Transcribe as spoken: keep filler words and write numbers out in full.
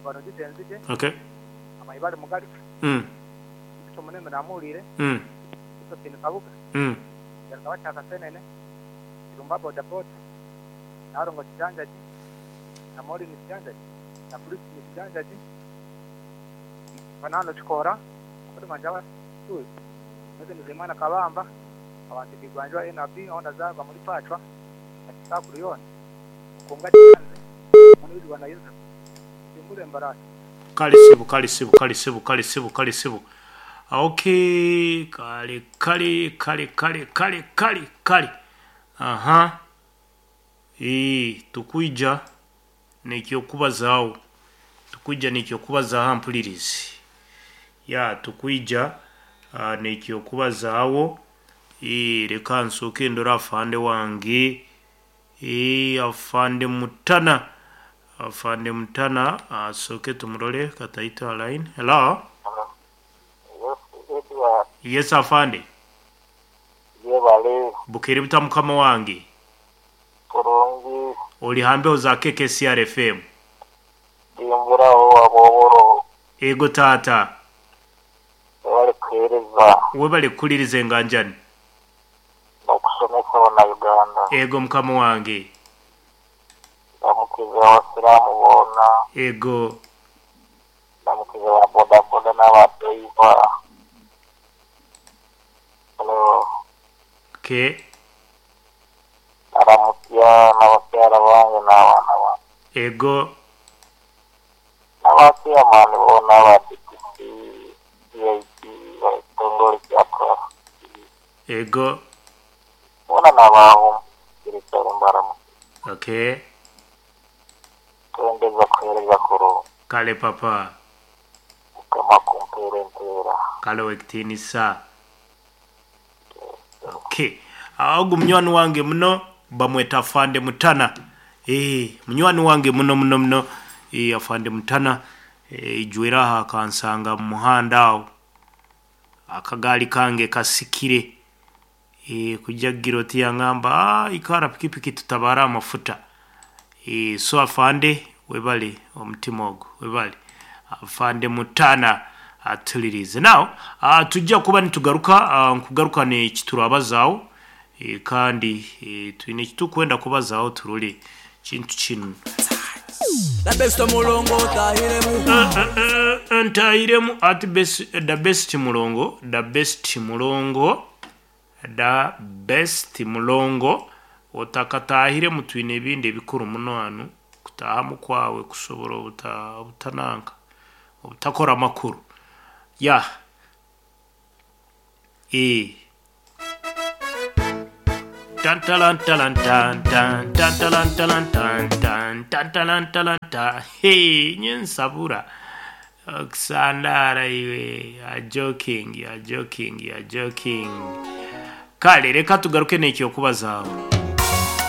Barungi Tenzije, Okay. Amaibale Mugaruka, Mm. Kito Muneme Namuhulire, Mm. Josephine Kabuga, Mm. Yarukaba Kyakasenene, Irumba Boda Boda, Narongo Kijanjaji, na Maureen Kijanjaji, na Christine Kijanjaji, Banano Kikora, Mutima Njaba Tuzi, Meze Nizimana Kabamba, abantu bigwanjwa N R B aho ndazarwa muri Pacwa, Akisakuru yona, Mukunga Kiyanze, Munini Rwanda Yusuf, Simbure Mbarasi. Kale sibu, kale sibu, kale sibu, kale sibu, kale sibu. Okay, kale kale kale kale kale kale kale. Aha. Eh, tukwija nekyo kubazaawo. Tukwija nekyo kubazaawo mpulirizi. Ya tukwija uh, nekyo kubazaawo. Eh, reka nsooke ndora afande wange. Eh, afande Mutana. Afande Mutana asooke tumurole kataita line. Hello. Yes afande. Yebale. Bukiri buta mukama wange. Kurungi. Oli hambe za K K C R F M. Dimbura aboboro. Ego tata. Webale kuhereza. Webale kuliriza enganjani. Nokusomesa bana Uganda. Ego mukama wange. Ndamukiza abasiraamu boona. Ego. Ndamukiza ba boda boda n'aba driver. Hello. Okay. Aramutya n'abakyala bange n'abaana bange. Ego. N'abachairman boona aba D P C, C I P, ekitongole kya traffic. Ego. Boona n'abaawo kirikari mbaramu. Okay. Twendeza kuheereza kurungi. Kale papa. Mukama kumpeera empeera. Kale wekitiinisa. Okay. Ago munywani wange muno bamweta Afande Mutana. Eh, munywani wange muno muno muno. Eh, Afande Mutana eh ijwera aha kansanga mu muhanda awo. Akagaali kange kasikire. Eh, kujja giroti yangamba, ah, ikara pikipiki tutabara amafuta. Eh, so Afande webale omutima ogwo webale. Afande Mutana atulirize. Now, uh, tujja kuba nitugaruka uh, nkugaruka ne kiturabazaawo e, kandi e, twine kitukwenda kubazaawo turule kintu kino. The best mulongo tahiremu. Uh, uh, uh, ntahiremu at best, the best mulongo, the best mulongo, the best mulongo otakatahiremu twine ebindi ebikuru muno hano kutahamu kwawe kusobola obuta, obutananka obutakora amakuru. Ya. E. Tan talan talan tan tan tan talan talan tan tan tan talan talan ta. Hey, nyensabura. Oksandara iwe. You are joking, you are joking, you are joking. Kale reka tugaruke n'ekyo kubazaawo.